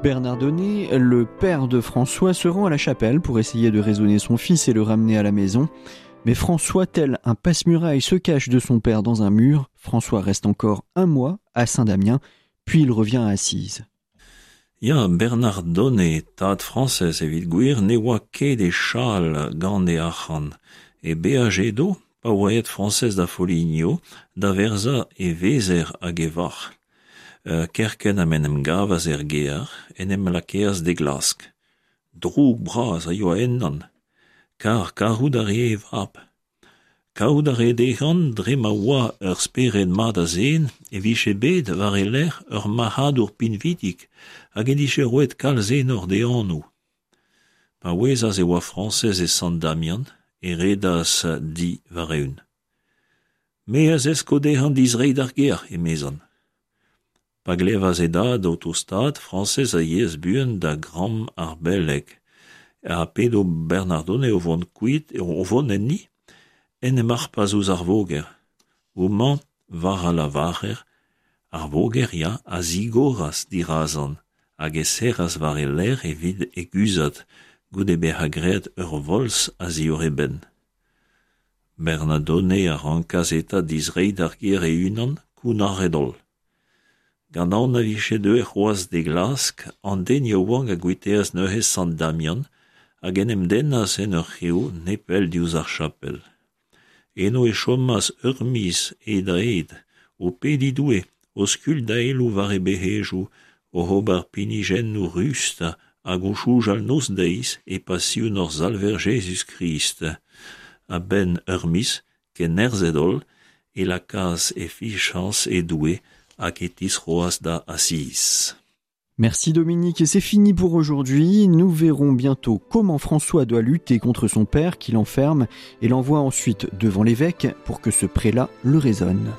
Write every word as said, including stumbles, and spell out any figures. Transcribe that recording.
Bernardone, le père de François, se rend à la chapelle pour essayer de raisonner son fils et le ramener à la maison. Mais François, tel un passe-muraille, se cache de son père dans un mur. François reste encore un mois à Saint-Damien, puis il revient à Assise. Ya, Bernardone, tad Frañsez evit gwir, ne oa ket e chal gant e arc'hant. E beaj edo, pa oa aet Frañsez da Foligno, da verzañ e vezer hag e varc'h. Kerkent ha m'en em gavas er gêr, en em lakaas d'e glask. Droug bras a yoa ennañ, kar karout a rae e vab. Kaout a rae dezhañ dre ma oa ur spered mat a zen e vije bet war e lerc'h ur marc'hadour pinvidik hag en dije roet kalz enor d'e anv. Pa ouezas e oa Frañsez e Sant-Damian, e redas di war-eeun. Me a zesko dezhañ distreiñ d'ar gêr, emezañ. Pa glevas e dad o tostaat, Frañsez a yeas buan da gambr ar beleg, ha p'edo Bernardone o vont kuit, o vont enni, en em harpas ouzh ar voger. Homañ, war a lavarer, ar voger, ya, a zigoras dirazañ hag e serras war e lerc'h evit e guzhat goude bezañ graet ur volz a-ziwar e benn. Bernardone a rankas eta distreiñ d'ar gêr e-unan, kounnaret-holl. Gant aon na vije deuet c'hoazh d'e glask, an den yaouank a guitaas neuze Sant-Damian hag en em dennas en ur c'hev nepell diouzh ar chapel. Eno e chomas ur miz hed-ha-hed, o pediñ Doue, o skuilh daeloù war e bec'hedoù, oc'h ober pinijennoù rust hag o soñjal noz-deiz e pasion hor Salver Jezuz-Krist. A-benn ur miz, kennerzhet-holl, e lakaas e fiziañs e Doue hag e tistroas da Asiz. Merci Dominique, et c'est fini pour aujourd'hui. Nous verrons bientôt comment François doit lutter contre son père qui l'enferme et l'envoie ensuite devant l'évêque pour que ce prélat le raisonne.